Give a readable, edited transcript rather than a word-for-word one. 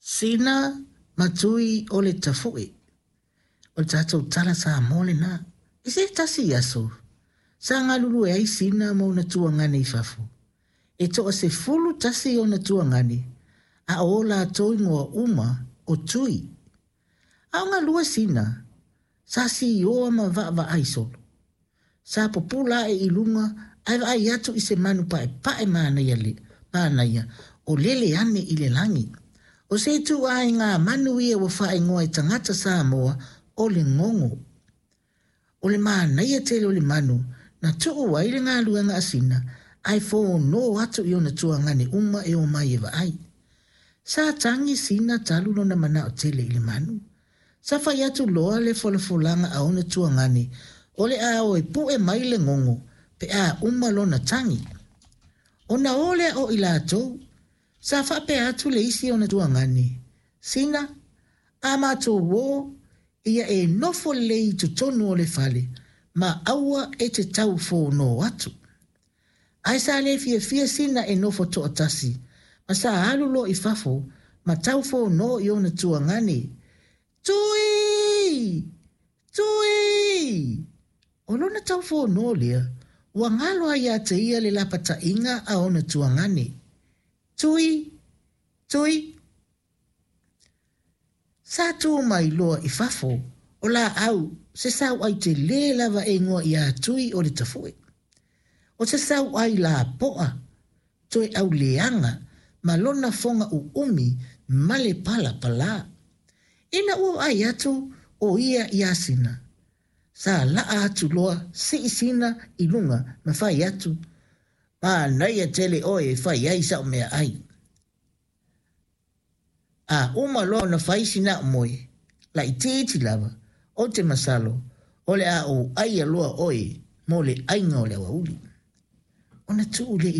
Sina ma Tui o le Tafu'e. O le tatou tala Samoa lena. I se tasi aso, sa galulue ai Sina ma ona tuagane i fafo. E toa-11 ona tuagane, a o o latou igoa uma o Tui. A o galue Sina, sa sioa ma vaavaai solo. Sa pupula ae i luga ae vaai atu i se manu paepae manaia le manaia o lele ane i le lagi. O se ituaiga manu ia ua faaigoa e tagata Samoa o le gogo. O le manaia tele o le manu na tuu ai le galuega a Sina ae fono atu i ona tuagane uma e omai e vaai. Sa tagi Sina talu lona manao tele i le manu. Sa fai atu loa le folafolaga a ona tuagane o le a o e pu'e mai le gogo pe a uma lona tagi. Ona o lea o i latou, sa faapea atu le isi ona tuagane, Sina, a matou o, ia e nofo lelei i totonu o le fale ma aua e te tau fono atu. Ae sa le fiafia Sina e nofo toatasi, ma sa alu loa i fafo ma tau fono i ona tuagane, Tui! Tui! O lona tau fono lea, ua galo lava ia te ia le lapataiga a ona tuagane, Tui! Tui! Sa tu mai loa i fafo o laau se sauai telē lava e igoa iā Tui o le Tafu'e. O se sauai lapo'a, toe auleaga ma lona foga u'umi ma le palapalā. Ina ua vaai atu o ia iā Sina, sa la'a atu loa si'i Sina i luga ma fai atu, Manaia tele oe e fai ai sa'u meaai. A uma loa ona fai sina a'u moe, laitiiti lava, ou te masalo, o le a ou aia loa oe mo le aiga o le aoauli. Ona tuu lea i.